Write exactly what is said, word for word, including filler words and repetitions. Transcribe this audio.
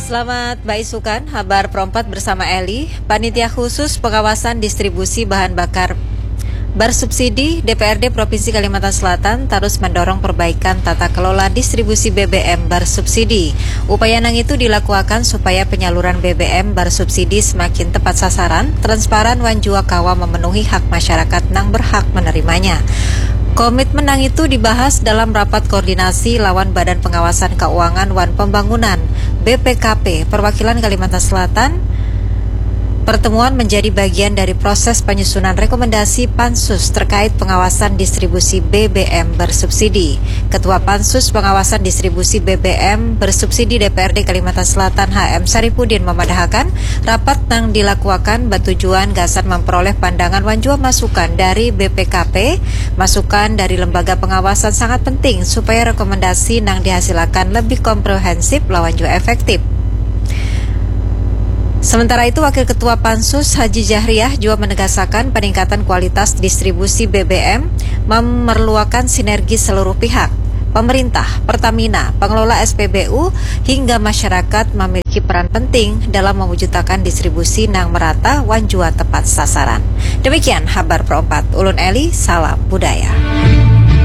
Selamat baisukan, habar perompat bersama Eli. Panitia Khusus Pengawasan Distribusi Bahan Bakar Bersubsidi D P R D Provinsi Kalimantan Selatan terus mendorong perbaikan tata kelola distribusi B B M bersubsidi. Upaya nang itu dilakukan supaya penyaluran B B M bersubsidi semakin tepat sasaran, transparan wan jua kawa memenuhi hak masyarakat nang berhak menerimanya. Komitmen nang itu dibahas dalam rapat koordinasi lawan Badan Pengawasan Keuangan wan Pembangunan, B P K P, Perwakilan Kalimantan Selatan. Pertemuan menjadi bagian dari proses penyusunan rekomendasi Pansus terkait pengawasan distribusi B B M bersubsidi. Ketua Pansus Pengawasan Distribusi B B M bersubsidi D P R D Kalimantan Selatan H M Saripudin memadahakan, rapat nang dilakuakan batujuan gasan memperoleh pandangan wan jua masukan dari B P K P. Masukan dari lembaga pengawasan sangat penting supaya rekomendasi nang dihasilakan lebih komprehensif lawan jua efektif. Sementara itu, Wakil Ketua Pansus Haji Jahriah jua menegasakan peningkatan kualitas distribusi B B M memerluakan sinergi seluruh pihak, pemerintah, Pertamina, pengelola S P B U, hingga masyarakat memiliki peran penting dalam mewujudkan distribusi nang merata wan jua tepat sasaran. Demikian habar perompat. Ulun Eli, salam budaya.